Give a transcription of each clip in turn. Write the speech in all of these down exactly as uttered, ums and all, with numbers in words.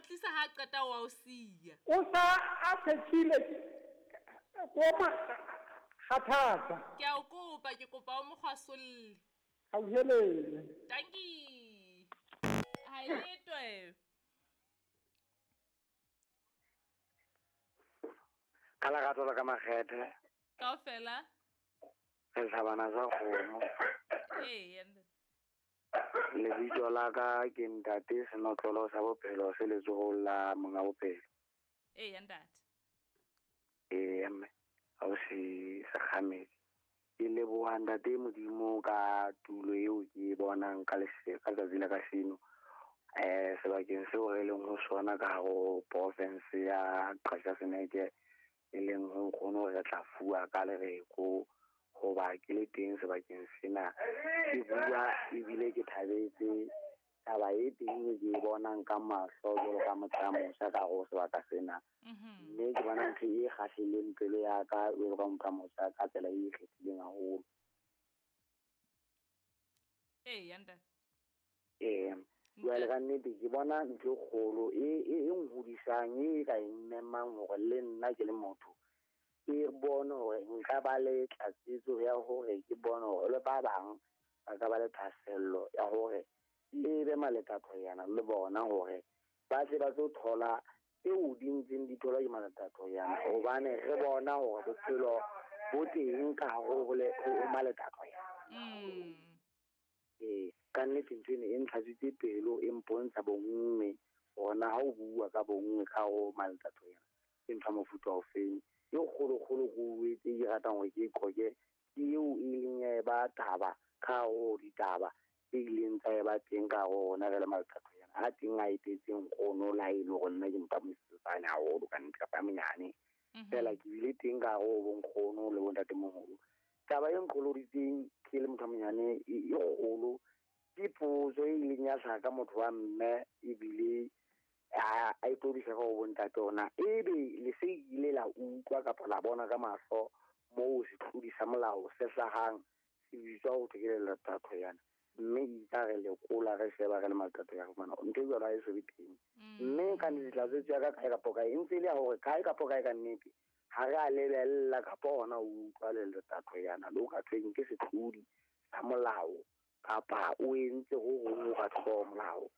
tlisa ha qeta wa o siya. O sa a phethile ko ma khathatsa. Ke a o kopa, ke kopa o mo kgwasolle. Hauhelele. Dankie. Ha e letwe. Ka lerato la ka makgethe. Kaofela. Re tlhabana sa kgomo. Ee, lebitso la ka ke ntate Senotlolo sa Bophelo se letsohong la monga bophelo. Ee, ntate. Ee, mme ha o se sekgamedi. Ke leboha ntate Modimo ka tulo eo ke e bonang ka ka letsatsi la kasheno. Eh, sebakeng seo re leng ho sona ka hare ho province ya Qacha's Nek, e leng ho nkgono re tla fuwa ka lereko hoba ke le teng sebakeng sena. Ke bua ebile ke thabetse taba e teng e ke e bonang ka mahlo jwalo ka motho a motjha ka hare ho sebaka sena. Mme ke bona ntho e kgahlileng pelo ya ka jwalo ka motho a motjha ka tsela e ikgethileng haholo. Ee, ntate. Ee, jwale ka nnete ke bona ntho e kgolo e e nhodisang, e ka e mmemang hore le nna ke le motho ke bone hore nka ba le tlatsetso ya hore ke bone hore le ba bang ba ka ba le thahasello ya hore e be maletathoyana le bona hore ba tle ba tlo thola tseo di ntseng di tholwa ke maletathoyana, hobane re bona hore bophelo bo teng ka hare ho maletathoyana. Mm. Ee, ka nnete ntho ena e ntlhatswitse pelo, e mpontsha bonngwe hore na ha o bua ka bonngwe ka hare ho maletathoyana ke ntho ya mofuta ofeng. E kgolokgolo ko etse ke ratang hore ke e qoke ke eo e leng ya eba taba ka hare ho ditaba tse ileng tsa eba teng ka hare ho rona re le maletathoyana. A teng a etetseng nkgono le ha e le hore nna ke motho a mosesane haholo ka nnete kapa a monyane. Feela ke bile teng ka hare ho bonkgono le bontatemoholo. Taba e nqoloditseng ke le motho a monyane e kgolo ke potso e ileng ya hlaha ka motho wa mme ebile a a itodisa ka ho bontate ona, ebe le se ile la utlwa kapa la bona ka mahlo moo setlodi sa molao se hlahang se bitswa ho thwe ke leletathoyana, mme itse re lekola re sheba re le maletathoyana fumana ntho e jwalo ha e so be teng. Mme ka nnete tlatsetso ya ka kae kapa kae e ntse e le ya hore kae kapa kae ka nnete ha re a lebella kapa hona o utlwa leletathoyana le o ka thweng ke setlodi sa molao kapa o entse ho hong ho ka thoko molao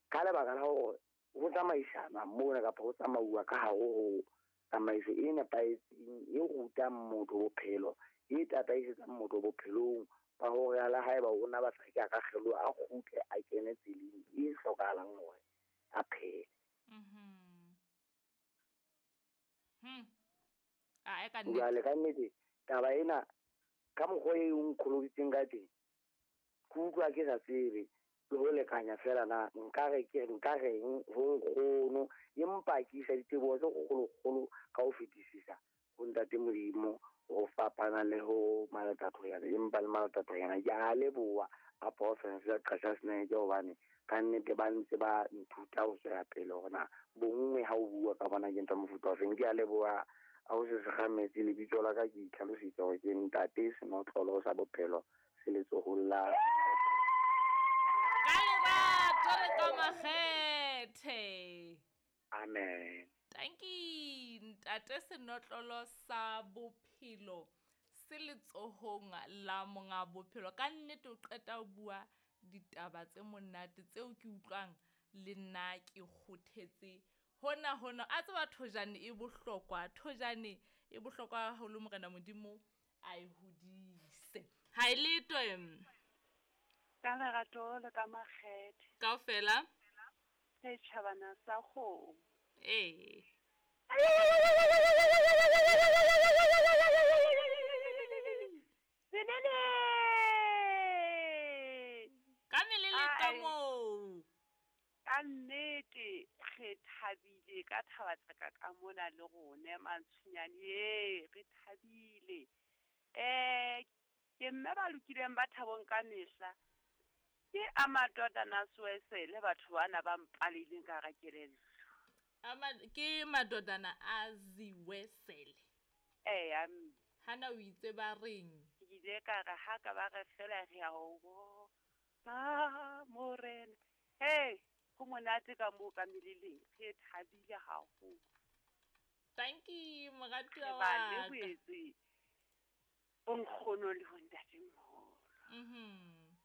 ka lebaka la hore ho tsamaisana mona kapa ho tsamauwa ka hare ho tsamaiso e nepahetseng e rutang motho bophelo, e tataisetsang motho bophelong ba hore le haeba o na batla ke a ka kgeloha a kgutle a kene tseleng e hlokahalang hore a phele. Mhm. Hmm. A e ka nnete. Jwale ka nnete taba ena ka mokgwa e o nkgoloditseng ka teng ke utlwa ke sa tsebe le ho lekanya fela na nka re ke nka reng ho nkgono, empa ke isa diteboho tse kgolokgolo ka ho fetisisa ho ntate Modimo ho fapana le ho maletathoyana, empa le maletathoyana ke a leboha a province ya Qacha's Nek hobane ka nnete ba ntse ba nthuta ho tswela pele hore na bonngwe ha o bua ka bona ke ntho ya mofuta ofeng. Ke a leboha ha o se sekgametse lebitso la ka ke itlhalositse hore ke ntate Senotlolo sa Bophelo se letsohong la ka lerato le ka makgethe. Amen. Tanki ntate Senotlolo sa Bophelo se letsohong la monga bophelo. Ka nnete o qeta ho bua ditaba tse monate tseo ke utlwang le nna ke kgothetse hona hona. A tseba thojane e bohlokwa, thojane e bohlokwa haholo, Morena Modimo a e hodise. Ha e letwe. Ka lerato le ka makgethe. Kaofela. Setjhabana sa kgomo. Ee. Senene! Ka melele ka moo. Ka nnete re thabile ka thaba tsaka ka mona le rona Mantshunyane, e re thabile. Eh ke mme ba lokileng ba thabong ka mehla. Ke a madodana Soesele batho bana ba mpaleleng ka hara kelello. Ama ke madodana a Ziwesele. Eh am Hana o itse ba reng? Ke ile ka re ha ka ba re fela re a o bona morena. Hey, Ho monate ka moo ka meleleng, re thabile haholo. Thank you, moratuwa Re wa ba ka. lebohetse bonkgono le bontatemoholo. Mhm.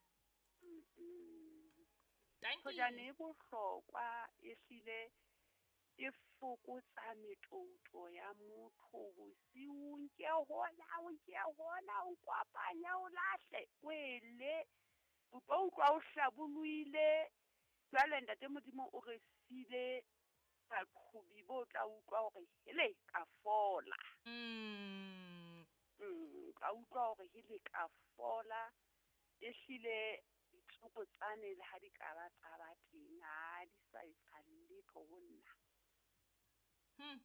Mm. Thank you. Thojane e bohlokwa ehlile e fokotsa metouto ya motho bosiung ke hola o ke hola o kopanya o lahle wele o tlo utlwa o hlabollohile. Jwale ntate Modimo o re sile baqhobi bo tla utlwa hore hele ka fola. Mm. Mm, ka utlwa hore hele ka fola. Ehlile ditsoko tsane le ha di ka ba tsa ba teng, ha di sa etsa letho ho nna. Hmm.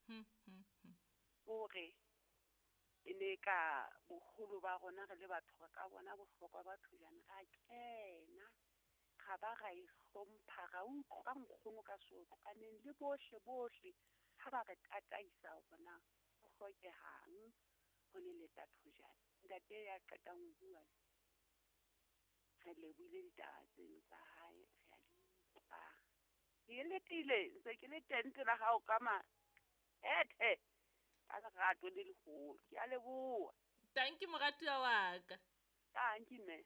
Hmm, hmm, hmm. Hore e ne ka boholo ba rona re le batho re ka bona bohlokwa ba thojana ra kena ra ba ra e hlompha ra utlwa nkgono ka seotlwaneng le bohle bohle ha ba re tataisa hore na ho hlokehang ho leleta thojana. Ntate ya qetang ho bua re lebohile ditaba tseno tsa hae, re a di utlwa. Ke letile ntse ke le teng pela hao ka mahethe ka lerato le leholo. Ke a leboha. Thank you moratuwa wa ka. Thank you mme.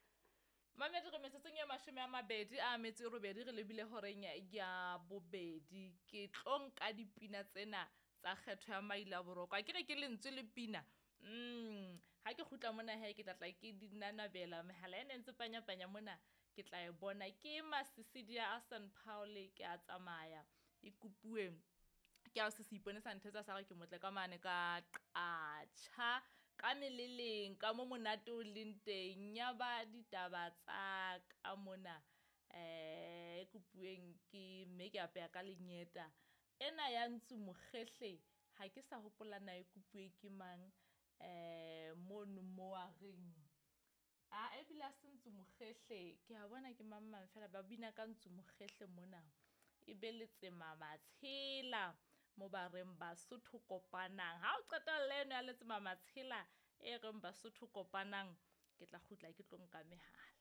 Mamedi re metsotsong e mashome a mabedi a metso e robedi re lebile horeng ya bobedi. Ke tlo nka dipina tsena tsa kgetho ya maila boroko. A ke re ke lentswe le pina. Mm, ha ke kgutla mona he ke tla tla ke di nanabela mehala ena e ntse panya-panya mona ke tla e bona. Ke Masisidi a San Paul ke a tsamaya e kopuwe ke a se se ipone sa nthetsa sa re ke motle ka mane ka qatjha ka meleleng ka mo monate o leng teng ya ba ditaba tsa ka mona eh kopuweng ke mme ke apeya ka lenyeta ena ya ntsu mokgehle ha ke sa hopola na e kopuwe ke mang eh mono mo a reng a ebile a se ntsu mokgehle ke a bona ke mang mang fela ba bina ka ntsu mokgehle mona e be letsema matshela mo ba reng Basotho kopanang. Ha o qeta le eno ya letsema matshela e reng Basotho kopanang ke tla kgutla ke tlo nka mehala.